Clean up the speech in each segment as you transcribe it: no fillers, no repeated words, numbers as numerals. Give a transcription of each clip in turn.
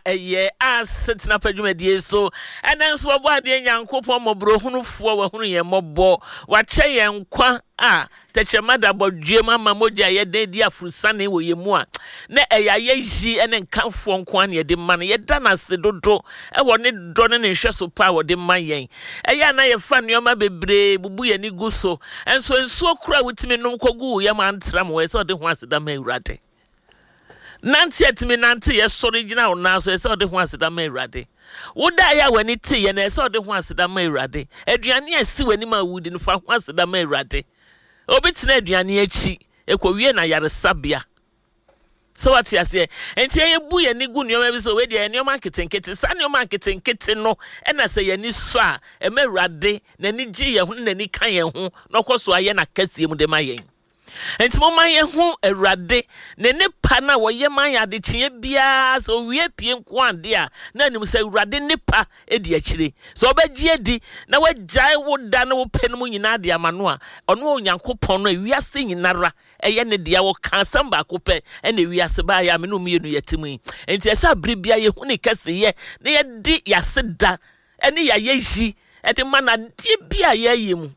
ɛyɛ asetena pa dwumadie so. Ɛnɛ nso wɔbɔ adeɛ Nyankopɔn mmɔborɔhunufoɔ wahunu yɛn mmɔbɔ, wakyɛ yɛn nkwa a Tɛkyerɛma da bɔdweam ama mogya a ɛyɛ den di aforosiane wɔ yɛn mu a, na ɛyɛ ayɛyi ne nkamfoɔ nko ara na yɛde ma no. Yɛda no ase dodo wɔ ne dɔ ne ne nhwɛso pa a ɔde ma yɛn. Ɛyɛ a na yɛfa nneɛma bebree bubu yɛn ani gu so, nso nsuo koro a wotumi nom kɔgu wo yam antra mu, ɛsɛ sɛ ɔde ho aseda ma Awurade. Nante a tumi nante yɛ sɔre gyina wo nan so, ɛsɛ sɛ ɔde ho aseda ma Awurade. Wodaeɛ a w'ani teeɛ no, ɛsɛ sɛ ɔde ho aseda ma Awurade. Aduane a ɛsi w'anim a wodi no, fa ho aseda ma Awurade. Obi tena aduane akyi, ɛkɔwie no ayaresabea. Sɛ wate aseɛ? Nti yɛbu yɛn ani gu nneɛma bi so, wei deɛ nneɛma nketenkete. Saa nneɛma nketenkete no ɛna sɛ yɛn ani sɔ a, ɛma Awurade n'ani gye yɛn ho ne n'ani ka yɛn ho na ɔkɔ so ayɛ n'akɛseɛ mu de ma yɛn. Enti momma yɛnhu Awurade, ne nnepa no a wɔyɛ ma yɛn adekyeɛ biara. Sɛ owia pue nko ara deɛ a, na anim sɛ Awurade nnepa di akyire. Sɛ wobɛgye adi na woagyae wo da ne wo pɛ no mu nyinaa de ama no a, ɔno Onyankopɔn no a wiase nyinara ɛyɛ ne dea, ɔka asɛm baako pɛ ɛna wiase baayɛ a me ne wo mmienu yɛte mu yi. Enti ɛsɛ sɛ bere biara yɛhu ne kɛseyɛ na yɛde yɛaseda ne yɛayɛyi de ma no adeɛ bi a yɛyɛ mu.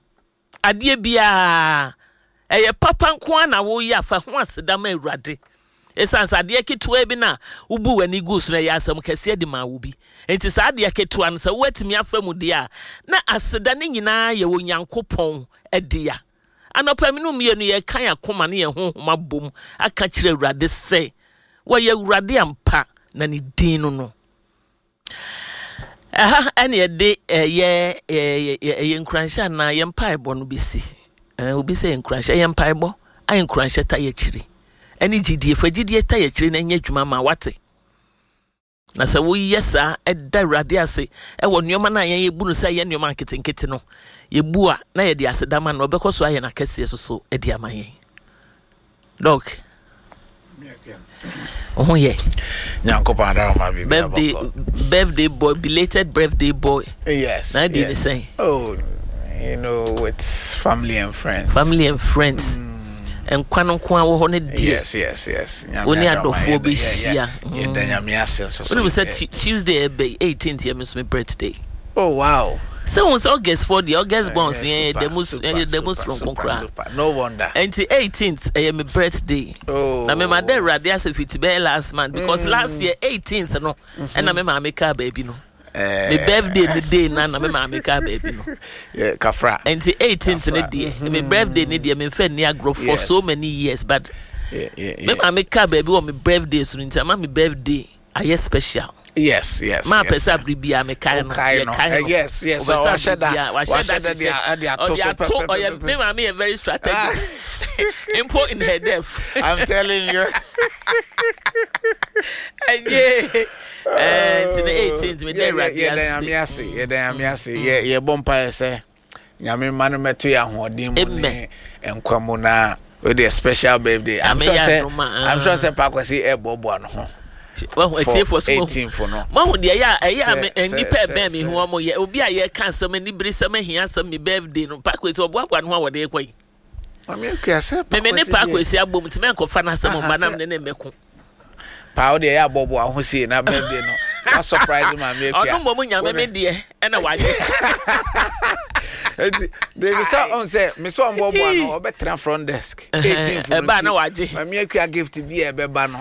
Adeɛ biara, ɛyɛ papa nko ara na woyɛ a, fa ho aseda ma Awurade. Ɛsiane sɛ adeɛ ketewa bi no a wobu w'ani gu so no, ɛyɛ asɛm kɛseɛ de ma wo bi. Enti saa adeɛ ketewa no, sɛ woatumi afa mu deɛ a, na aseda no nyinaa yɛ Onyankopɔn dea. Anɔpa me ne wo mmienu yɛreka yɛn akoma ne yɛn honhom abom aka kyerɛ Awurade sɛ, wɔyɛ Awurade ampa, na ne din no no. Ɛha ɛna yɛde ɛyɛ ɛyɛ nkuranhyɛ anaa yɛn mpaebɔ no bɛsi. Obi sɛ nkuranhyɛ, ɛyɛ mpaebɔ a nkuranhyɛ ta yɛ akyire. Ɛne gyidie, fa gyidie ta yɛ akyire na ɛnyɛ adwuma ma wate. Na sɛ woyɛ saa ɛda Awurade ase ɛwɔ nneɛma no a yɛn yɛbu no sɛ ɛyɛ nneɛma nketenkete no, yɛbu a na yɛde aseda ma no, ɔbɛkɔ so ayɛ no akɛseɛ soso de ama yɛn. Doc, wo ho yɛ? Nyankopɔn adaroma biribi birthday birthday boy, belated birthday boy. Yes. Na adi ne sɛn? Oh, you know, with family and friends. Family and friends. Nkwa no nko ara wɔ hɔ no deɛ. Yes, yes, yes. Wo ne adɔfoɔ bɛhyia. Yɛda Nyame ase nso so. Wonim sɛ Tuesday ɛbɛ yi, 18th yɛ me nso me birthday. Oh wow. Sɛ wohu sɛ August foɔ deɛ, August borns yɛn yɛ da mu yɛ da mu soronko koraa. No wonder. Nti 18th ɛyɛ me birthday. Oh. Na me ma da Awurade ase fiti bɛyɛ last month because last year 18th no ɛna me maame kaa baabi no. Me birthday ne day na na me maame kaa baabi no. Yeah, kafra. Nti 18th ne deɛ, me birthday ne deɛ memfa nni agorɔ for so many years but me maame kaa baabi wɔ me birthday so no nti ama me birthday ayɛ special. Yes, yes. Maa pɛ sɛ abiri biara mekae no, yɛkae no. Yes, yes. Ɔhyɛ da, wahyɛ da de ato so pɛpɛpɛ. Ɔyɛ me maame yɛ very strategic. Mpo in her death. I'm telling you. Ɛnyɛ nti no 18th meda Awurade ase. Yɛda Nyame ase, yɛda Nyame ase. Yɛbɔ mpaeɛ sɛ Nyame mma no mmɛto yɛ ahoɔden mu ne nkwa mu na wei deɛ special birthday. I'm sure sɛ I'm sure sɛ Pakwasi ɛboaboa no ho. Wahu atiefoɔ so mahu no. Mahu deɛ ɛyɛ a ɛyɛ a nnipa ɛbɛn mi ho wɔn yɛ obi a yɛka asɛm anibere sɛm ahia asɛm mi birthday no Pakwasi ɔboaboa no ho a wɔde rekɔ yi. Meme ne Pakwasi abom nti mɛnkɔfa n'asɛm mma nam ne ne mmɛko. Paa wo deɛ yɛ abɔboa ho sie na birthday no wa surprise maame akua. Ɔno mmom nyame me deɛ ɛna wayɛ. Eti debi sɛ ɔn sɛ me sɛ ɔmbɔboa no ɔbɛtena front desk. 18 fo no na wagye. Maame akua gift bi a ɛbɛba no.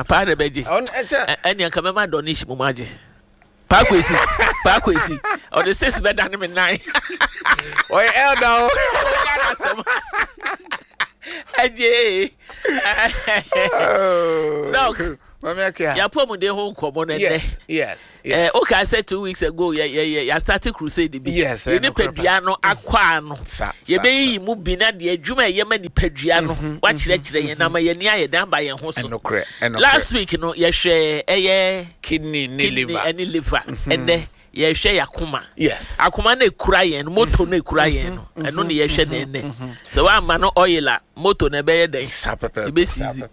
Paa na ɛbɛgye. Ɛnea nka mɛma Donish mu agye. Paa Kwesi, Paa Kwesi, ɔde six bɛda ne me nan. Ɔyɛ elder o. Ɔyɛ n'asɛm. Ɛgye. Doc. Mami Akia. Yɛapɔmuden ho nkɔmɔ no ɛnɛ. Yes, yes. Yes. Eh, okay, I said 2 weeks ago, yeah, yeah, yeah, started crusade bi. Yes, yɛ nipadua no akwaa no. Yɛbɛyiyi mu bi na deɛ adwuma a ɛyɛ ma nipadua no wakyerɛkyerɛ yɛn na ama yɛn ani ayɛ dan aba yɛn ho so. Last week no yɛhwɛ ɛyɛ kidney ne liver ɛne liver ɛnɛ yɛhwɛ yɛ akoma. Yes. Akoma no ekura yɛn no, moto no ekura yɛn no, ɛno ne yɛhwɛ na ɛnɛ. Sɛ wamma no oil a, moto no ɛbɛyɛ dɛn? Saa pɛpɛɛpɛ. Ebesizi.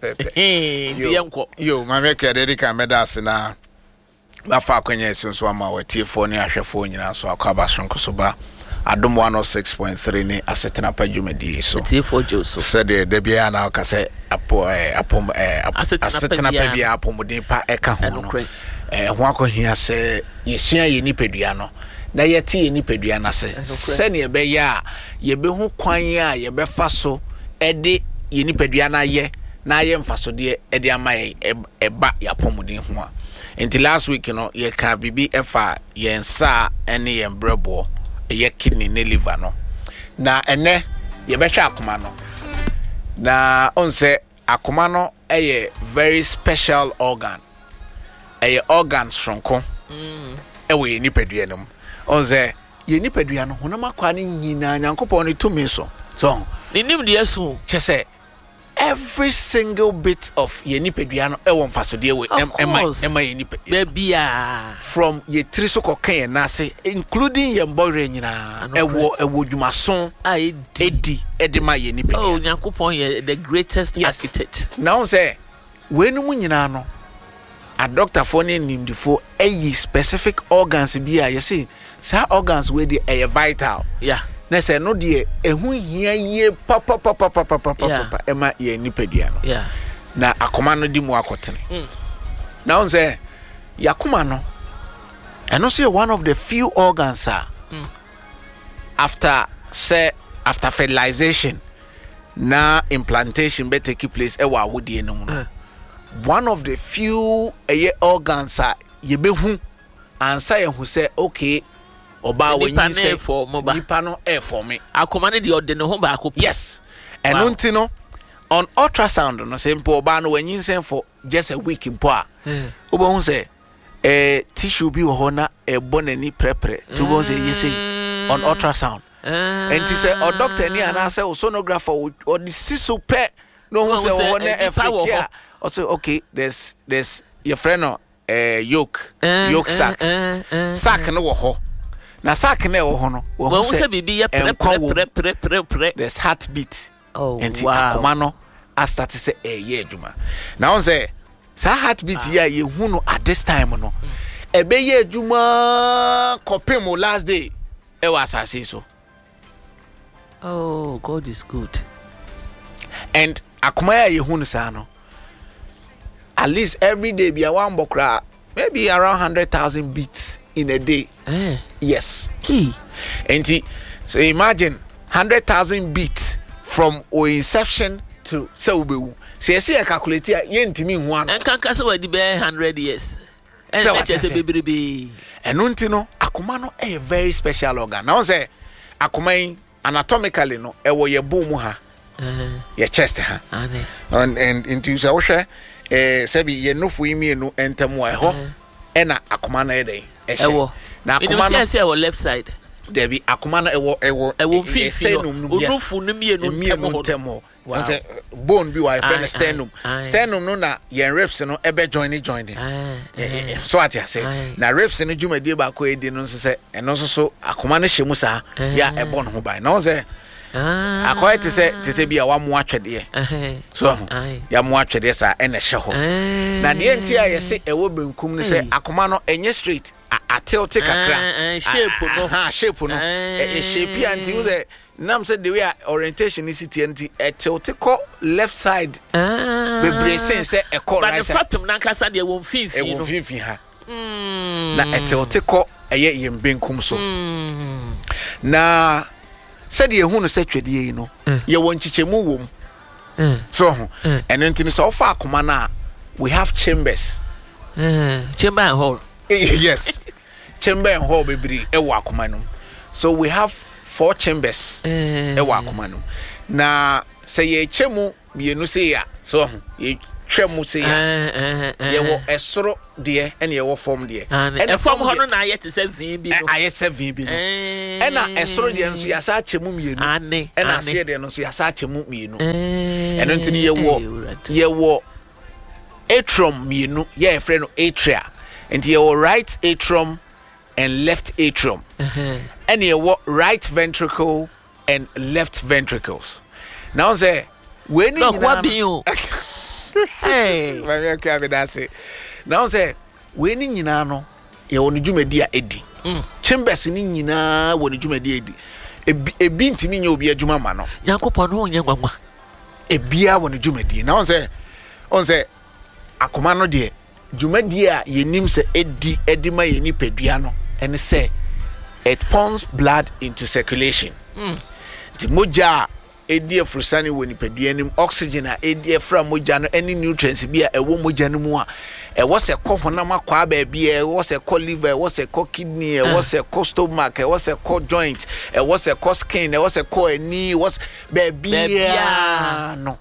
Nti yɛnkɔ. Yo, maame Akua, deɛ edi kan mɛda ase na mafa akwanya yi so nso ama w'atiefoɔ ne ahwɛfoɔ nyinaa nso akɔ aba soronko so ba. Adom 106.3 ne Asetena Pa dwumadie so. Atiefoɔ gye wo so. Sɛdeɛ da biara na woka sɛ apo ɛɛ apom ɛɛ Asetena pa asetena pa biara biara apɔmuden pa ɛka ho no. Ɛnokorɛ. Ɛho akɔhia sɛ yɛsua yɛn nipadua no na yɛte yɛn nipadua no ase Ɛnokorɛ. sɛdeɛ ɛbɛyɛ a yɛbɛhu kwan a yɛbɛfa so de yɛn nipadua no ayɛ na ayɛ mfasodeɛ de ama yɛn ɛba yɛn apɔmuden ho a. Nti last week no yɛkaa biribi ɛfa yɛn nsa ne yɛn brɛboɔ, ɛyɛ kidney ne liver no. Na ɛnɛ yɛbɛhwɛ akoma no. Na ɔn sɛ akoma no yɛ very special organ. Ɛyɛ organ soronko ɛwɔ yɛn nipadua no mu. Ɔn sɛ yɛn nipadua no honam akwaa no nyinaa Nyankopɔn ne tumi so. So Ne nimdeɛ so. Kyɛ sɛ every single bit of yɛn nipadua no ɛwɔ mfasodeɛ wɔ Of ɛma course. ɛma yɛn nipadua no. Baabiaa. From yɛn tiri so kɔka yɛn nan ase including yɛn bɔwerɛ nyinaa Anokorɛ. ɛwɔ ɛwɔ dwumaso A ɛdi. ɛdi ɛde ma yɛn nipadua Oh, no. Nyankopɔn yɛ the greatest Yes. architect. Na wohu sɛ weinom nyinaa no adɔktafoɔ ne animdefoɔ ayi specific organs bi a yɛse saa organs wei deɛ ɛyɛ vital. Yeah. Na sɛ ɛno deɛ ɛho hia yie papapapapapapa Yeah. ɛma yɛn nipadua no. Yeah. Na akoma no di mu akɔtene. Na wohu sɛ yɛakoma no ɛno nso yɛ one of the few organs a after sɛ after fertilization na implantation bɛ take place ɛwɔ awodeɛ no mu no one of the few ɛyɛ organs a yɛbɛhu ansa yɛhu sɛ okay ɔbaa Nipa no wɔnyinsɛn ɛɛfɔɔmo ba. nipa no ɛɛfɔme. Akoma no deɛ ɔde ne ho baako pɛ. Yes. Ɛno Wow. nti no on ultrasound no sɛ mpo ɔbaa no wanyinsɛn for just a week mpo a wobɛhu sɛ eh, tissue bi wɔ hɔ na ɛbɔ n'ani prɛprɛ nti wobɛhu sɛ ɛyɛ sei on ultrasound. Nti sɛ ɔdɔkta ni anaasɛ o sonographer ɔde si so pɛ na ohun sɛ wɔ hɔ na ɛfiki a ɔsɛ okay there's there's yɛfrɛ no eh, yolk yolk sac sac no wɔ hɔ na sac no ɛwɔ hɔ no wɔn sɛ biribi yɛ nkwa wɔ mu prɛprɛprɛprɛprɛ there's heartbeat Oh, nti wow. akoma no astart sɛ ɛyɛ adwuma na wɔn sɛ saa heartbeat yi a yɛhu no at this time no ɛbɛyɛ adwuma kɔpem o last day ɛwɔ asase yi so. Oh, God is good. And akoma yi a yɛhu no saa no at least every day bia wambɔ koraa maybe around 100,000 beats in a day. Eh. Yes. Hey. Nti so imagine 100,000 beats from o inception to sɛ wobɛwu. Sɛ yɛsɛ yɛ calculate a yɛntumi nhu ano. Nkanka sɛ wadi bɛyɛ 100 years. Sɛ Ɛna wate kyerɛ sɛ aseɛ. bebrebe. Ɛno nti no akoma no ɛyɛ very special organ. Na wɔn sɛ akoma yi anatomically no ɛwɔ yɛ bone mu ha, yɛ chest ha. Ane. And nti sɛ wohwɛ sɛbi yɛ nofo yi mmienu ntam a ɛhɔ ɛna akoma no ɛyɛ dɛn ɛhyɛ. Ɛwɔ. Na Menim akoma sɛ no ɛsɛ ɛwɔ left side. Dabi, akoma no ɛwɔ ɛwɔ Ɛwɔ yɛ mfimfini hɔ. sternum no mu, yes. Onufo no mmienu ntam Mmienu hɔ no. ntam hɔ. Wow. Sɛ bone bi wɔ a yɛfrɛ no Aye, sternum. aye, aye. Sternum no na yɛn ribs no ɛbɛ join join. Aye, aye. So ate ase. Aye. Na ribs no dwumadie baako a ɛdi no nso sɛ ɛno nso so akoma no hyɛ mu saa yɛ a ɛbɔ ne ho ban. Na wɔn sɛ Ah. akɔyɛ te sɛ bi a wamoa twɛdeɛ. Ɛhɛn. So ɛho Aye. yɛamoa twɛdeɛ saa ɛna ɛhyɛ hɔ. Eh. Na deɛ nti a yɛse ɛwɔ benkum no sɛ Ei. akoma no ɛnyɛ straight, atelte kakra. Eh, eh, shape no. Aha, shape no. Eh. Shape a nti wo sɛ nam sɛ the way a orientation no si teɛ nti ɛtelte kɔ left side Ah. bebree sen sɛ ɛkɔ But right ne side. fapem nankasa deɛ wɔ mfimfini Ɛwɔ no. mfimfini ha. Na ɛtelte kɔ ɛyɛ yɛn benkum so. Na sɛdeɛ ehu no sɛ twɛdeɛ yi no, yɛwɔ nkyekyɛmu wɔ mu. So ho. Ɛno nti no sɛ wofa akoma no a, we have chambers. Chamber and hall. Yes. Chamber and hall bebree ɛwɔ akoma no mu. So we have 4 chambers ɛwɔ akoma no mu. Na sɛ yɛkyɛ mu mmienu sei a, so ho, yɛtwa mu sei a, yɛwɔ ɛsoro deɛ ɛna yɛwɔ fam deɛ. Ɛna Ɛna fam fam hɔ deɛ no na ayɛ te sɛ vin bi no. Ayɛ sɛ vin bi no. Ɛna ɛsoro deɛ nso yɛasa akyɛ mu mmienu. Ane, Ɛna ane. aseɛ deɛ no nso yɛasa akyɛ mu mmienu. Ɛno nti no Awurade. yɛwɔ atrium mmienu, yɛ yɛfrɛ no atria. Nti yɛwɔ right atrium and left atrium. Ɛna yɛwɔ right ventricle and left ventricles. Na wɔn sɛ wei ne Doc, nyinaa what be you? Hey. Maame Akua, meda ase. Na wɔn sɛ wei ne nyinaa no Yɛwɔ ne dwumadi a ɛdi. Chambers no nyinaa wɔ ne dwumadi a ɛdi. Ebi, ebi ntumi nyɛ obi adwuma ma no. Nyankopɔn no nyɛ nwanwa. Ebiara wɔ ne dwumadie. Na ɔn sɛ, ɔn sɛ akoma no deɛ, dwumadie a yɛnim sɛ ɛdi ɛde ma yɛn nipadua no ɛne sɛ it pumps blood into circulation. Nti mogya a ɛdi afurusane wɔ nipadua no mu, oxygen a ɛdi afra mogya no ne nutrients bi a ɛwɔ mogya no mu a ɛwɔ sɛ kɔ honam akwaa baabi a ɛwɔ sɛ kɔ liver, ɛwɔ sɛ kɔ kidney, ɛwɔ sɛ kɔ stomach, ɛwɔ sɛ kɔ joint, ɛwɔ sɛ kɔ skin, ɛwɔ sɛ kɔ ani, ɛwɔ sɛ baabiara no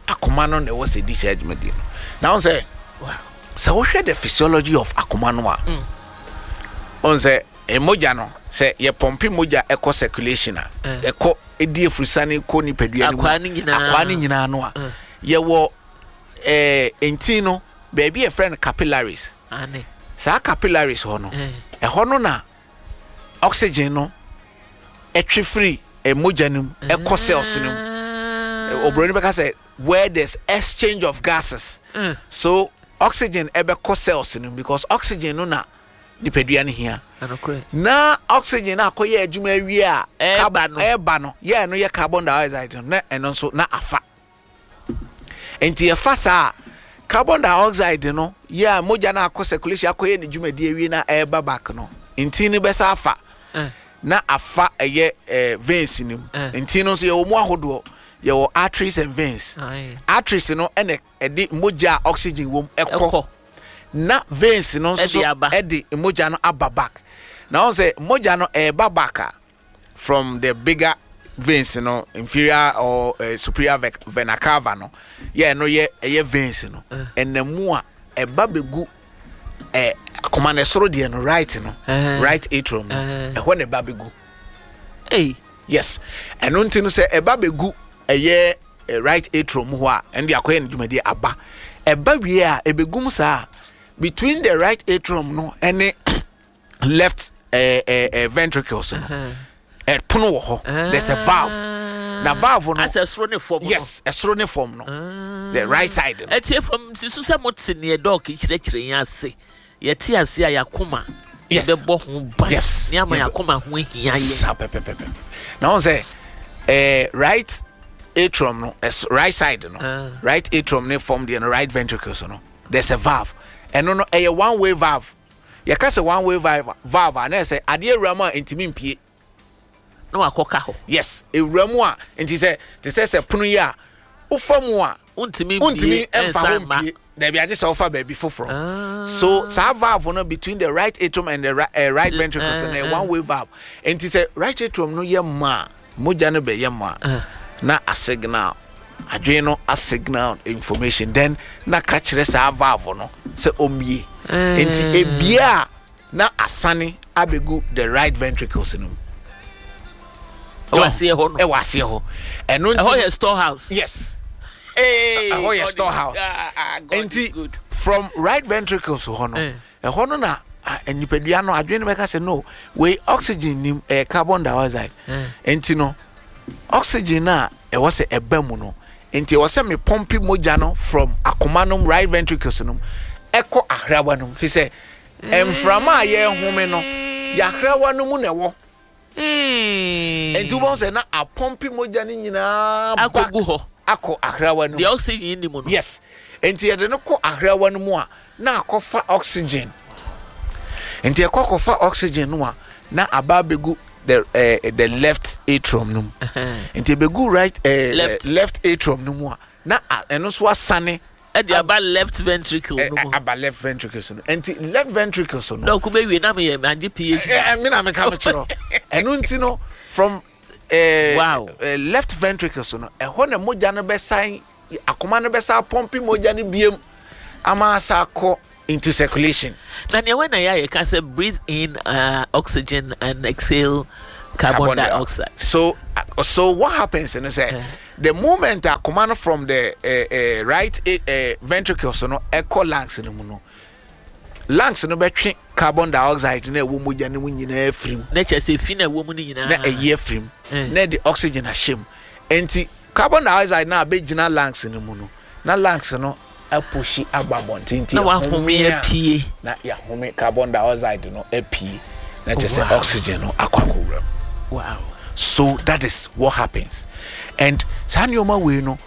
akoma no na ɛwɔ sɛ di saa dwumadie no. Na wɔn sɛ sɛ wohwɛ the physiology of akoma no a, wɔn sɛ Mogya no, sɛ yɛpɔmpe mogya kɔ circulation a, ɛkɔ di afurusane kɔ nipadua no mu, akwaa no nyinaa no a, yɛwɔ ɛɛ ntin no baabi a yɛfrɛ no capillaries. Saa capillaries hɔ no, ɛhɔ no na oxygen no ɛtwe firi mogya no mu ɛkɔ cells no mu. Oburoni bɛka sɛ where there's exchange of gases. So oxygen ɛbɛkɔ cells no mu because oxygen no na nipadua no hia. Na oxygen no akɔyɛ adwuma awie a, ɛreba no, yɛ ɛno yɛ carbon dioxide no, na ɛno nso na afa. Nti ɛfa saa carbon dioxide no yɛ a mogya no akɔ circulation akɔyɛ ne dwumadi awie na ɛreba back no, ntin no bɛsa afa. Eh. Na afa ɛyɛ eh, veins no mu. Eh. Ntin no nso yɛwɔ mu ahodoɔ, yɛwɔ arteries and veins. Arteries no ɛna ɛde mogya a oxygen wɔ mu ɛkɔ. Na veins no nso so ɛde mogya no aba back. Na wɔn sɛ mogya no ɛreba back a from the bigger veins no inferior or uh, superior vena cava no yɛ ɛno yɛ ɛyɛ veins no ɛnam mu a ɛba bɛgu ɛ akoma no ɛsoro deɛ no right no right atrium no ɛhɔ na ɛba bɛgu. Yes, ɛno nti no sɛ ɛba bɛgu ɛyɛ right atrium hɔ a, ɛno de akɔyɛ no dwumadie aba. Ɛba wie a, ɛbɛgu mu saa between the right atrium no ɛne left eh, eh, eh, ventricles no ɛpono wɔ hɔ. There's a valve. Na valve no. Asɛ ɛsoro ne fam no. Yes, ɛsoro ne fam no. The right side no. Ɛtie fam susu sɛ mo te neɛ dɔɔke kyerɛkyerɛ yɛn ase. Yɛte ase a yɛakoma yɛbɛbɔ ho ban yes. ne ama yɛakoma ho ahia yɛn. Saa pɛpɛpɛpɛ. Na wɔn sɛ eh, right atrium no right side no uh. right atrium ne fam deɛ no right ventricles no there's a valve ɛno no ɛyɛ one way valve yɛka sɛ one way valve valve a na ɛsɛ adeɛ awura mu a ntumi mpie. Na wakɔka hɔ. Yes, ewura mu a, nti sɛ te sɛ sɛ pono yi a, wofa mu a, wontumi wontumi mfa hɔ mpie. Dabi agye sɛ wofa baabi foforɔ. Ah. So saa valve no between the right atrium and the right, uh, right ventricles no uh, one way valve. Nti sɛ right atrium no yɛ mma a, mogya no bɛyɛ mma a, na a signal adwene no a signal information then na ka kyerɛ saa valve no sɛ ɔmmie. Nti ebie a na asane abɛgu the right ventricles no mu. Ɛwɔ aseɛ hɔ no. Ɛwɔ aseɛ hɔ. Ɛno nti. Ɛhɔ yɛ storehouse. Yes. Hey, ɛhɔ yɛ storehouse. Ah, ah, nti from right ventricles hɔ no, eh. ɛhɔ no na ah, nipadua no adwene no bɛka sɛ no wei oxygen nim ɛyɛ carbon dioxide. Eh. Nti no oxygen a ɛwɔ sɛ ɛba mu no nti ɛwɔ sɛ me pɔmpi mogya no from akoma nom right ventricles nom ɛkɔ ahrawa nom fi sɛ Mframa a yɛrehome no, yɛahrawa no mu na ɛwɔ. Enti wobɛhu sɛ na apɔmpe mogya no nyinaa back akɔgu hɔ akɔ ahrawa no mu. Deɛ oxygen nni mu no. Yes. Enti yɛde no kɔ ahrawa no mu a, na akɔfa oxygen. Enti ɛkɔ akɔfa oxygen no a, na aba abɛgu the, uh, the left atrium no mu. Enti ɛbɛgu right, uh, left. left atrium no mu a, na ɛno nso asane Ɛde aba left ventricle no mu. Aba left ventricles no. Nti left ventricles no. Dɔk bɛ wie na mi yɛ agye PhD. Ɛ mi na mi ka mi kyerɛ. Ɛno nti no from. Eh, wow. Eh, left ventricles no ɛhɔ na mogya no bɛsan akoma no bɛsan pɔmpi mogya no biem ama asa akɔ into circulation. Na nea wɛn na yɛ a yɛka sɛ breathe in uh, oxygen and exhale carbon, carbon dioxide. So, uh, so what happens no sɛ uh, the moment akoma no from the uh, uh, right uh, ventricles no ɛkɔ lungs no mu no lungs no bɛtwe carbon dioxide na ɛwɔ mogya no mu nyinaa afiri mu. Na kyerɛ sɛ efi na ɛwɔ mu no nyinaa. Na ɛyi afiri mu. Na ɛde oxygen ahyɛ mu. Nti carbon dioxide na abɛgyina lungs no mu no na lungs no. apushi aba abɔnten nti Na wahome apue. Na yɛahome carbon dioxide no apue na kyerɛ sɛ oxygen no akɔ akɔwura mu. Wow. So that is what happens. And saa nneɛma wei no,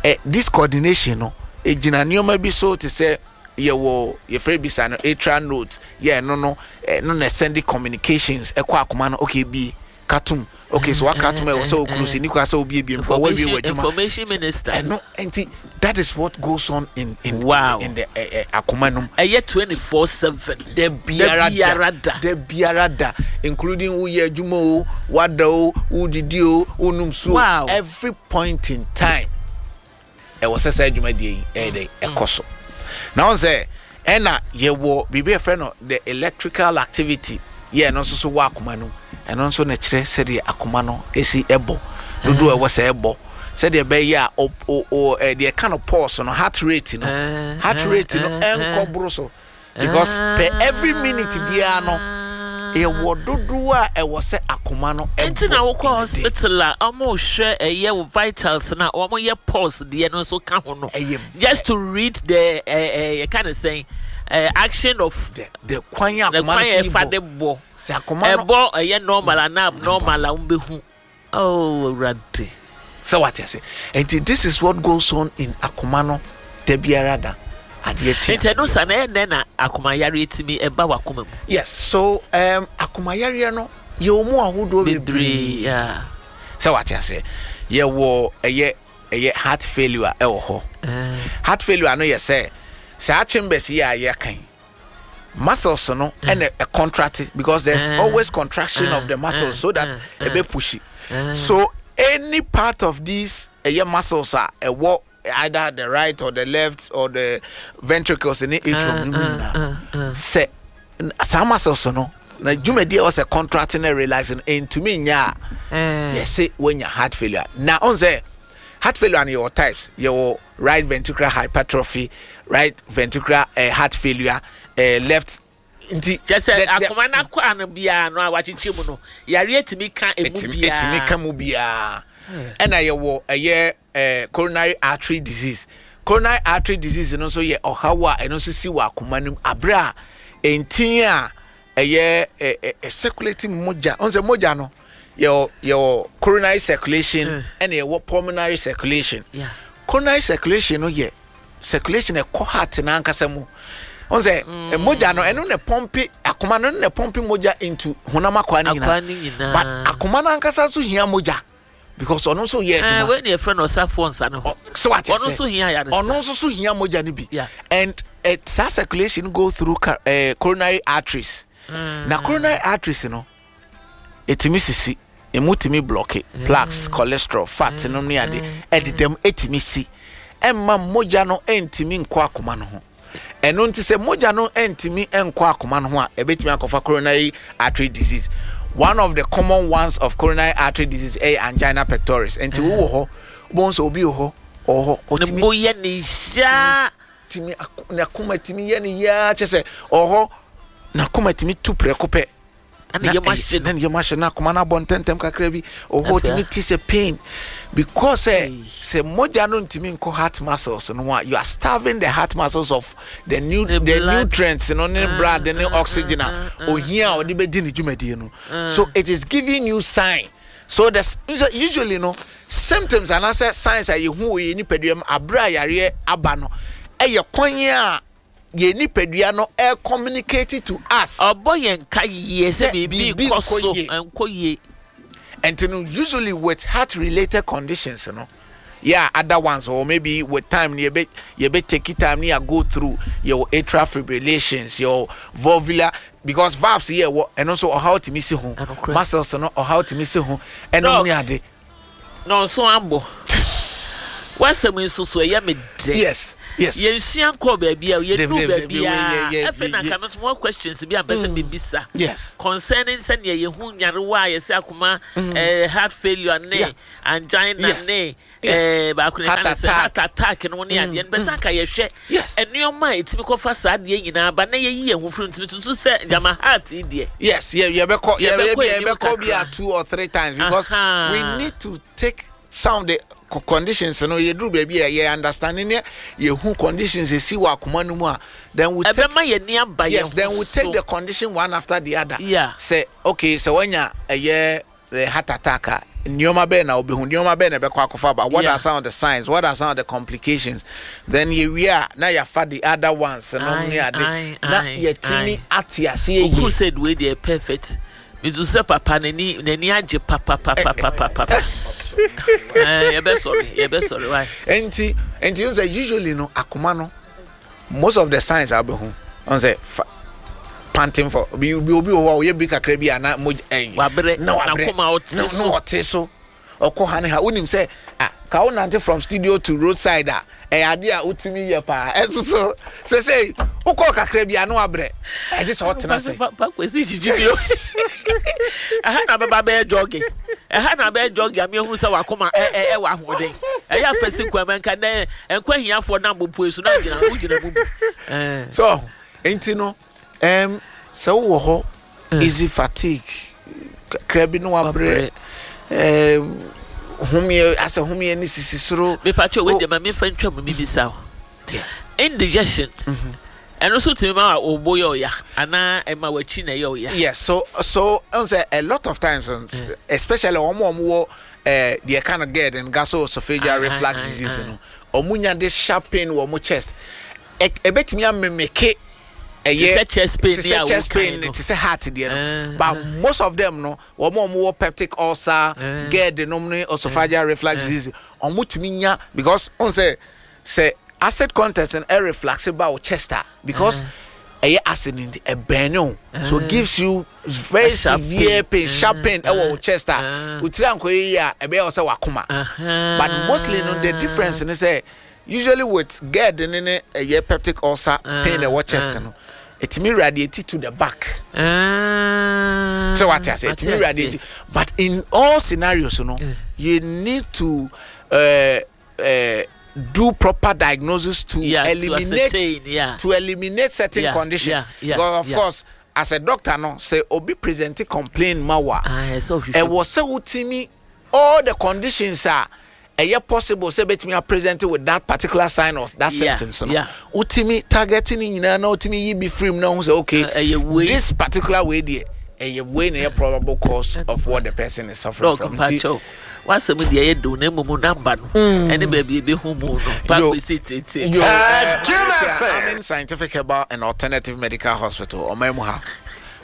eh, this coordination no, egyina nneɛma bi so te sɛ yɛwɔ yɛfrɛ bi saa no atrial note yɛ ɛno no ɛno na ɛsɛnde communications ɛkɔ akoma no okay bi katum okay so waka atom ɛwɔ sɛ okunu si nikwa sɛ obi ebiem kɔ wawie wɔ adwuma information minister ɛno nti that is what goes on in in wow. in, in the eh, eh, akoma nom ɛyɛ 24/7 da biara da da biara da including woyɛ adwuma o wada o wodidi o wonum so wow. every point in time ɛwɔ sɛ saa dwumadie yi ɛyɛ dɛ ɛkɔ so na wɔn sɛ ɛna yɛwɔ biribi a yɛfrɛ no the electrical activity yɛ ɛno nso so wɔ akoma no ɛno nso na kyerɛ sɛdeɛ akoma no esi ɛbɔ dodoɔ ɛwɔ sɛ ɛbɔ sɛdeɛ ɛbɛyɛ a o o o deɛ ɛka no pulse no heart rate no heart rate no ɛnkɔ boro so. Because per every minute biara no yɛwɔ dodoɔ a ɛwɔ sɛ akoma no bɔ. Nti na wokɔ hospital a wɔn hwɛ ɛyɛ wo vitals na wɔn yɛ pulse deɛ no nso ka ho no. Ɛyɛ just to read the ɛɛ ɛɛ yɛka ne sɛn ɛɛ action of the the kwan a akoma no si bɔ. de bɔ. Sɛ akoma no ɛbɔ ɛyɛ normal anaa abnormal a wɔn bɛ hu. Oh Awurade. Sɛ wate ase. Nti this is what goes on in akoma no da biara da adeɛ kye. Nti ɛno sa na ɛyɛ nɛ na akoma yareɛ tumi ɛba wakoma mu. Yes, so um, akoma yareɛ no yɛwɔ mu ahodoɔ bebree. Yeah. Sɛ wate ase. Yɛwɔ ɛyɛ ɛyɛ heart failure ɛwɔ hɔ. Heart failure no yɛ sɛ saa chambers yi a yɛka yi muscles no ɛna mm. contract because there's mm. always contraction of the muscles so that ɛbɛ push so any part of these ɛyɛ muscles a ɛwɔ either the right or the left or the ventricles ne atrium no mu nyinaa sɛ saa muscles no na dwumadi a ɛwɔ sɛ contract ne relax no ntumi nya a yɛse woanya heart failure na ɔn sɛ heart failure no yɛwɔ types yɛwɔ right ventricular hypertrophy right ventricular uh, heart failure uh, left nti. kyɛ sɛ akoma no akɔ ano biara no a wakyekyɛ mu no yareɛ tumi ka emu biara ɛtumi ka mu biara ɛna yɛwɔ ɛyɛ eh, coronary artery disease coronary artery disease no nso yɛ ɔhaw a ɛno nso si wɔ akoma no mu abere a ntin a ɛyɛ ɛ ɛ circulating mogya ɔn sɛ mogya no yɛwɔ yɛwɔ coronary circulation mm. ɛna yɛwɔ pulmonary circulation yeah. coronary circulation no yɛ circulation ɛkɔ heart n'ankasa mu ɔn sɛ mm. mogya no ɛno na pɔmpe akoma no na pɔmpe mogya into honam akwaa no nyinaa but akoma no ankasa nso hia mogya because ɔno nso yɛ adwuma. Eh, wei na yɛfrɛ no ɔsafoɔ nsa no ho. So wate ɔno nso hia ayaresa. Ɔno nso so hia mogya no bi. Yeah. And uh, saa circulation go through uh, coronary arteries. Na coronary arteries no, ɛtumi sisi, emu tumi blocke, plaques, cholesterol, fat no ne ade, ɛdedam ɛtumi si. Ɛmma mogya no ɛntumi nkɔ akoma no ho. Ɛno nti sɛ mogya no ntumi nkɔ akoma no ho a, ɛbɛtumi akɔfa coronary artery disease. One of the common ones of coronary artery disease ɛyɛ angina pectoris. Nti wowɔ hɔ, wobɛhu sɛ obi wɔ hɔ, ɔwɔ hɔ, ɔtumi. Ne bo yɛ ne yaa. Tumi, n'akoma tumi yɛ ne yaa kyɛ sɛ ɔwɔ hɔ, n'akoma tumi tu prɛko pɛ. Na ne yam ahye no. Na ne yam ahye no, akoma no abɔ ntɛmntɛm kakra bi. Ɔhɔ tumi te sɛ pain because sɛ sɛ mogya no ntumi nkɔ heart muscles no ho a, you are starving the heart muscles of the new the, the nutrients no ne mm, blood ne mm, oxygen a mm, ohia a ɔde bɛdi ne dwumadie no. So it is giving you sign. So the usually no symptoms anaasɛ signs a yɛhu wɔ yɛn nipadua mu abere a yareɛ aba no ɛyɛ kwan a yɛn nipadua no ɛcommunicate to us. Ɔbɔ yɛn ka yie sɛ biribi nkɔ so nkɔ yie. Nti no usually with heart related conditions no yeah other ones or maybe with time no yɛbɛ yɛbɛ take time no yɛ go through yɛwɔ atrial fibrillations yɛwɔ valvular because valves yɛ wɔ ɛno nso ɔhaw tumi si ho muscles no ɔhaw tumi si ho ɛno ne ade. Na ɔnso abɔ. W'asɛm yi nso so ɛyɛ me dɛ. Yes, yes. Yɛnsua nkɔɔ baabi a yɛnuu baabi a afei na nka me nso mewɔ questions bi a mpɛ sɛ mm. mebisa. Yes. Concerning sɛnea yɛhu nyarewa a yɛsɛ akoma mm. eh, heart failure ne yeah. angina yes. ne yes. eh, baako ne ka ne sɛ heart attack no ne adeɛ no bɛ sɛ anka yɛhwɛ Nneɛma a ɛtumi kɔfa saa adeɛ nyinaa ba na yɛyi yɛn ho firi ntumi susu sɛ gyama heart yi deɛ. Yes, yɛbɛkɔ yɛbɛkɔ bi a two or three times because we need to take some of the. Conditions no yɛduru baabi a yɛ understanding ne yɛhu conditions ɛsi wɔ akoma no mu a, then we take, Ɛbɛma yɛn ani aba yɛn yes, then ho we take so. the condition one after the other. Sɛ okay, sɛ wanya ɛyɛ heart attack a, nneɛma bɛn na wobɛhu, nneɛma bɛn na ɛbɛkɔ akɔfa ba, what are some of the signs, what are some of the complications, then yɛwie a na yɛafa the other ones no ne ade na yɛtumi ate aseɛ Wo yie. crusade wei deɛ perfect. Mesu sɛ papa n'ani n'ani agye papapapapapa. Ɛɛ yɛbɛsɔre yɛbɛsɔre why. Nti nti n sɛ usually no akoma no most of the signs a wobɛhu ɔn sɛ fa panting for obi obi obi wɔ hɔ a ɔyɛ bi kakra bi a na mogya ɛyi Wabrɛ na wabrɛ n'akoma ɔte na so. na ɔte so ɔkɔ ha ne ha wonim sɛ ah ka wo nante from studio to roadside a ɛyɛ adeɛ a wotumi yɛ paa ɛnso so sesei wokɔɔ kakra bi a na wabrɛ ɛgye sɛ ɔtena ase. Pa Kwesi gyigyi bi o. Ɛha na bɛba bɛyɛ jogging. Ɛha na bɛyɛ jogging a mehunu sɛ wakoma ɛ ɛ ɛwɔ ahoɔden. Ɛyɛ afɛsi kwan mu nka nɛ nkwa hiafoɔ nam bopue so na gyina wogyina mu bi. Ɛɛ. So nti no ɛm sɛ wowɔ hɔ easy fatigue kakra bi na wabrɛ ɛɛ homeɛ asɛ homeɛ ne sisi soro. Mepatwa wei deɛ ma memfa ntwa mu mimisa o. Indigestion ɛno nso tumi ma wo bo yɛ ɔya anaa ɛma w'akyi na ɛyɛ ɔya. Yes, so so ɛn sɛ a lot of times especially wɔn a wɔn wɔ ɛɛ deɛ ɛka no GERD and gastroesophageal reflux disease no wɔn nya this sharp pain wɔ wɔn chest ɛbɛtumi amemeke ɛyɛ te sɛ chest pain te sɛ chest pain te sɛ heart deɛ no but most of them no wɔn a wɔn wɔ peptic ulcer GERD nom ne esophageal reflux disease wɔn tumi nya because wɔn sɛ. Sɛ acid content no ɛreflaxe ba wo chest a because ɛyɛ acid no nti ɛbɛn o so it gives you very severe pain, sharp pain ɛwɔ wo chest a wo tiri ankɔyɛ yie a ɛbɛyɛ wo sɛ wakoma but mostly no the difference ne sɛ usually with GERD ne ne ɛyɛ peptic ulcer pain ɛwɔ chest no ɛtumi radiate to the back sɛ wate ase ɛtumi radiate but in all scenarios no you need to uh, uh, do proper diagnosis to yeah, eliminate to, ascertain, yeah. to eliminate certain yeah, conditions. Yeah, yeah, because of yeah. course, as a doctor, no say obi present complain ma wa. Ɛwɔ sɛ wotumi all the conditions are ɛyɛ possible sɛ bɛtumi apresent with that particular sign or that yeah, symptoms no yeah. wotumi target ne nyinaa na wotumi yi bi firi mu na wohu sɛ okay uh, this particular way deɛ ɛyɛ wei na ɛyɛ probable cause of what the person is suffering from. Nti W'asɛm deɛ ɛyɛ dɛ o na mmom number no ɛne baabi ɛbɛhu mu no pa kwesi tete. Yo, eh, Amen Scientific Herbal and Alternative Medical Hospital, ɔman mu ha.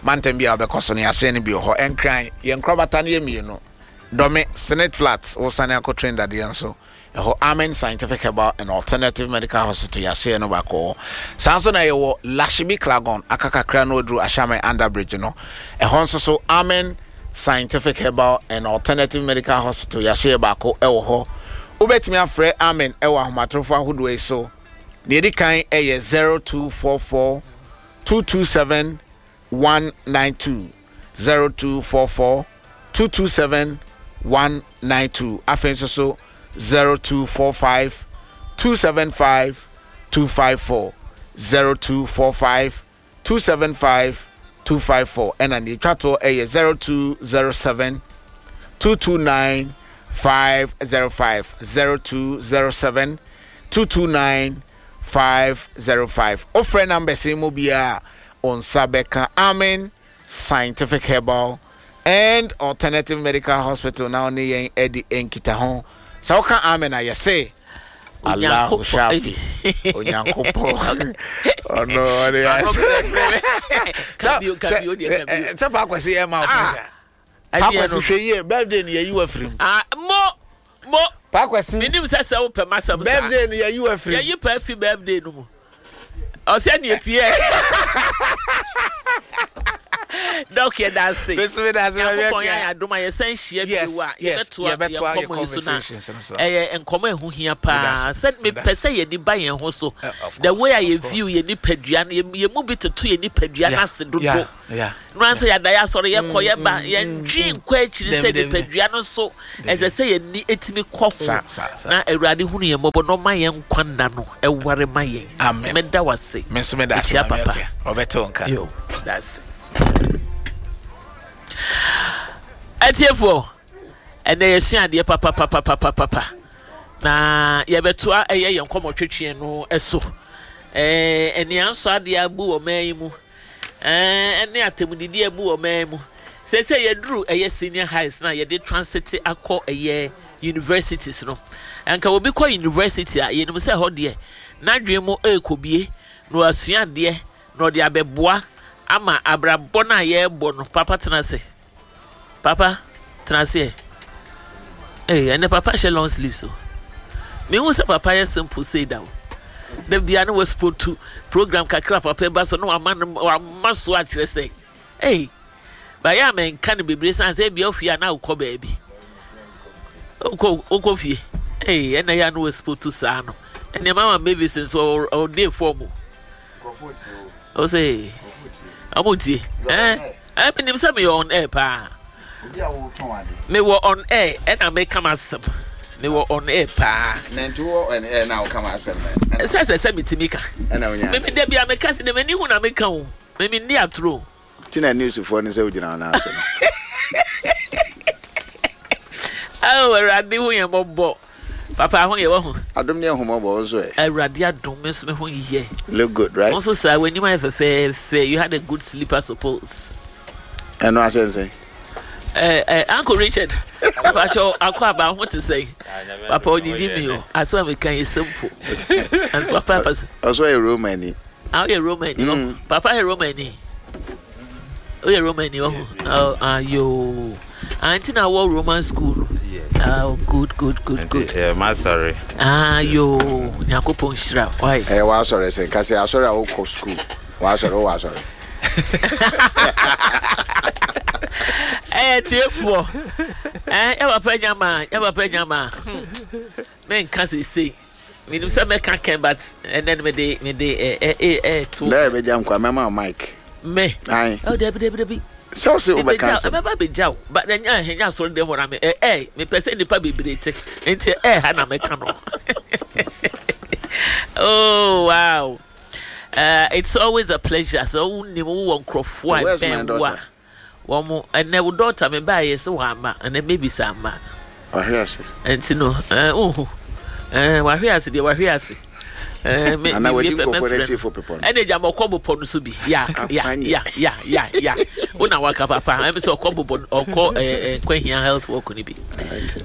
Mantam bi a wobɛkɔ so no, yɛahyɛn no bi wɔ hɔ. Ɛnkran, yɛn nkorabata no yɛ mmienu. Dɔme, Senate Flats, wosane akɔ train dadeɛ nso. Ɛhɔ, Amen Scientific Herbal and Alternative Medical Hospital, yɛahyɛn no baako wɔ hɔ. Saa nso na yɛwɔ Lashibi Klagon, aka kakra na waduru Ashame Underbridge no. Ɛhɔ nso so, Amen Scientific Herbal and Alternative Medical Hospital yɛahyɛ yɛ baako wɔ hɔ. Wobɛtumi afrɛ Amen wɔ ahomatorofo ahodoɔ yi so. Deɛ ɛdi kan yɛ 0244 227 192, 0244 227 192. Afei nso so 0245 275 254, 0245 275 254 ɛna nea etwa toɔ ɛyɛ 0207 229 505 0207 229 505 Wofrɛ numbers yi mu biara a wo nsa bɛka Amen Scientific Herbal and Alternative Medical Hospital na wo ne yɛn adi nkitaho. Sɛ woka amen a yɛse Allahu Shafi Onyankopɔn ɔno ɔne sɛ pa akwasi yɛ ma wo pressure pa akwasi hwɛ yie birthday no yɛyi wafiri mu mo mo pa akwasi menim sɛ sɛ wopɛ masɛm saa birthday no yɛyi wafiri mu yɛyi pa afi birthday no mu Ɔsɛ nea pie. Dɔk yɛ da ase. Nyankopɔn yɛ ayɛ adom a yɛsan hyia bio a yɛbɛtoa yɛn nkɔmmɔ yi so na ɛyɛ nkɔmmɔ a ɛho hia paa. Sɛ mepɛ sɛ yɛn ani ba yɛn ho so. The way a yɛ view yɛn nipadua no yɛn mu bi toto yɛn nipadua no ase dodo. No ara sɛ yɛada yɛ asɔre yɛkɔ yɛba yɛntwe nkɔ akyiri sɛ nipadua no so ɛsɛ sɛ yɛn ani tumi kɔ ho na Awurade hunu yɛn mmɔbɔ na ɔma yɛn nkwa nna no ɛware ma yɛn. Nti mɛda wo ase. Mekyia papa. Yo, da ase. Atiefoɔ, ɛnɛ yɛsua adeɛ papapapapapa. Na yɛbɛtoa ɛyɛ yɛn nkɔmmɔtwetweɛ no so. Ɛɛ aniansɔ adeɛ abu wɔ man yi mu. Ɛɛ ɛne atɛmudidi abu wɔ man mu. Seesei yɛduru ɛyɛ senior highs na yɛde transit akɔ ɛyɛ universities no. Anka obi kɔ university a yɛnim sɛ ɛhɔ deɛ n'adwene mu ɛrekɔbie na wasua adeɛ na ɔde abɛboa ama abrabɔ no a yɛrebɔ no. Papa tena ase. Papa, tena ase ɛ. Ee, ɛnɛ papa hyɛ long sleeves o. Mehu sɛ papa yɛ simple sei da o. Da bia ne waspotu program kakra papa ba so na wama no wama so akyerɛ sɛ ei bayɛ a menka no bebree san sɛ ebia ofie a na wokɔ baabi. Wokɔ wokɔ fie. Ei, ɛnɛ yɛ a na waspotu saa no. Ɛnɛ mama Mavis nso ɔde fɔm o. O sɛ ɔmo ntie. Ɛɛ. Eh, menim sɛ meyɛ on air paa. Mewɔ on air ɛna meka m'asɛm. Mewɔ on air paa. Na nti wɔ on air na woka m'asɛm no. Sɛ sɛ sɛ metumi ka. Ɛna wonya. Meme da bia meka sɛ m'ani hu na meka o. Meme nni atoro. Ti na newsfoɔ no sɛ wogyina wo nan so no. Oh, Awurade hu yɛn mmɔbɔ. Papa ho yɛ wahu. Adom ne ahummɔbɔ wo nso ɛ. Awurade adom me nso me ho yɛ. Look good right. Wo nso saa w'anim ayɛ fɛfɛɛfɛ you had a good sleep I suppose. Ɛno asɛ nsɛn. Eh, eh, Uncle Richard, Pacho, akɔ aba ho te sɛn? Papa onyigye mi o, asɛm a meka yɛ simple. As papa pasa. Ɔsɔ yɛ Romani. Ah, ɔyɛ Romani. Mm. Papa yɛ Romani. Ɔyɛ Romani ɔho. Oh, ah, yo. Ah, nti na wɔ Roman school no. Ah, good, good, good, good. Eh, m'asɔre. Ah, yo, Nyankopɔn nhyira. Why? Eh, w'asɔre sɛ nka sɛ asɔre a wokɔ school. W'asɔre, wowɔ asɔre. Eh, tiefoɔ. Eh, yɛ papa nyama, yɛ papa nyama. Menka seesei. Menim sɛ mɛka kɛn but ɛnɛ no mede mede ɛ ɛ ɛ ɛ to. Dɛ ɛbɛgya nkwa mɛma wo mic. Me. Ae. Oh dabi dabi dabi. Sɛ wo se wobɛka asɛm. Ɛbɛba bɛgya wo but ɛnyɛ ɛnyɛ asɔre dɛm hɔ na me ɛ ɛ mepɛ sɛ nnipa bebree te nti ɛ ha na mɛka no. Oh wow. It's always a pleasure sɛ wonim wowɔ nkurɔfoɔ a ɛbɛn wo a. Wɔn, ɛnɛ wo daughter me baeɛ sɛ wamma, ɛnɛ maybe sɛ amma. Wahwe ase. Nti no, ɛɛ wohu, ɛɛ wahwe ase deɛ wahwe ase. Ɛɛ me Ana me wadi wie pɛ nkurɔfoɔ mɛfrɛ n'akyi no. fo bepɔ no. Ɛna gya ma ɔkɔ bepɔ no so bi, ya ya ya ya ya ya. Wo na waka papa, ɛmi sɛ ɔkɔ bepɔ ɔkɔ ɛɛ ɛɛ Nkwahia health work no bi.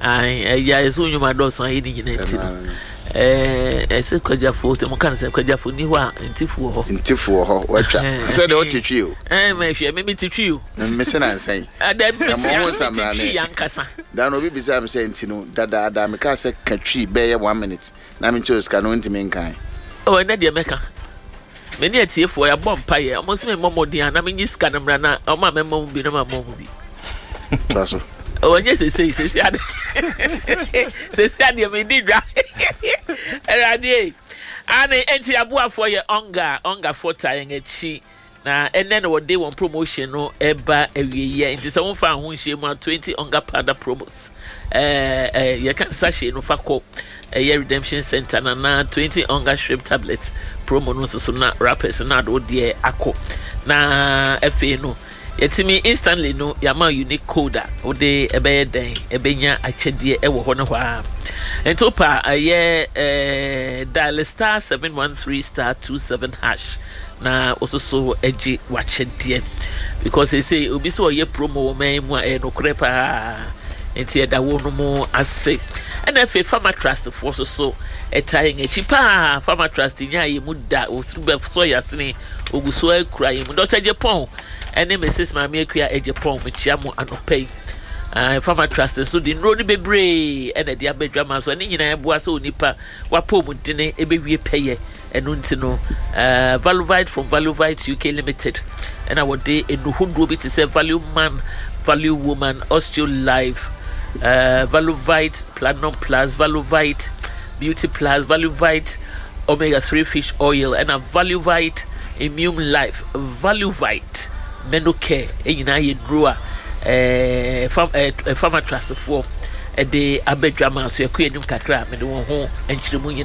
Ayi ɛyɛ ɛsɛ onyuma dɔɔso ayɛ ne nyinaa nti no. Ɛɛ ɛsɛ kwagyafo sɛ mo ka no sɛ kwagyafo ni hɔ a ntifo wɔ hɔ. Ntifo wɔ hɔ watwa sɛ deɛ ɔte twi o. Ɛɛ mɛ hwɛ me te twi o. Me se na nsɛn. Ɛdɛ me te a me te twi ankasa. Da no obi bisa me sɛ nti no dadaada me kaa sɛ ka twi bɛyɛ one minute na me nkyɛ osika no ntumi nkan. Oh ɛnɛ deɛ mɛka. Me ne atiefoɔ yɛabɔ mpaeɛ ɔmo nso me mmɔ mmɔden a na menye sika no mmra na ɔmo a mɛma mu bi na ma mmɔ mu bi. Toa so. Ɔnyɛ sesei sesei ade sesei adeɛ medi dwa awurade ane enti aboafoɔ yɛ ɔnga ɔngafoɔ taa yɛn akyi na ɛnɛ na wɔde wɔn promotion no ɛba awieɛ nti sɛ womfa ho nhyɛ mu a 20 ɔnga powder promos ɛɛ ɛɛ yɛka sachet no fa kɔ ɛyɛ redemption center na na 20 ɔnga shrimp tablets promo no nso so na wrappers na ade wodeɛ akɔ na afei no Yɛtumi instantly no yɛama wo unique code a wode ɛbɛyɛ dɛn ɛbɛnya akyɛdeɛ ɛwɔ hɔ ne hɔ ara. Nti wopɛ a ɛyɛ eh, dial star 713 star 27 hash na wososo agye w'akyɛdeɛ because ɛsei obi sɛ ɔyɛ promo wɔ man mu a ɛyɛ nokorɛ paa nti ɛda wo no mu ase ɛna afei Farmer Trust foɔ so so ɛtaa yɛn akyi paa Farmer Trust nyaa yɛ mu da wɔsiri bɛsɔ yɛ asene Ogu so ara kura yɛn mu. Dɔkta Agyepong ne Mrs. Maame Akua Agyepong, mekyia mo anɔpa yi. Uh, Farmer Trust nso de nnuro no bebree ɛna ɛde aba adwama so. Ɛne nyinaa ɛboa sɛ onipa wapɔmudene ɛbɛwie pɛyɛ. Ɛno nti no, uh, Valuvite from Valuvite UK Limited ɛna wɔde nnuro hodoɔ bi te sɛ Value Man, Value Woman, Osteo Life, uh, Valuvite Platinum Plus, Valuvite Beauty Plus, Valuvite Omega 3 Fish Oil ɛna Valuvite Immune Life, Valuvite Menocare nyinaa yɛ nnuro a ɛɛ fam ɛɛ Pharmatrustfoɔ ɛde aba dwa ma so ɛkɔ anim kakra a mede wɔn ho nkyerɛmu nyinaa.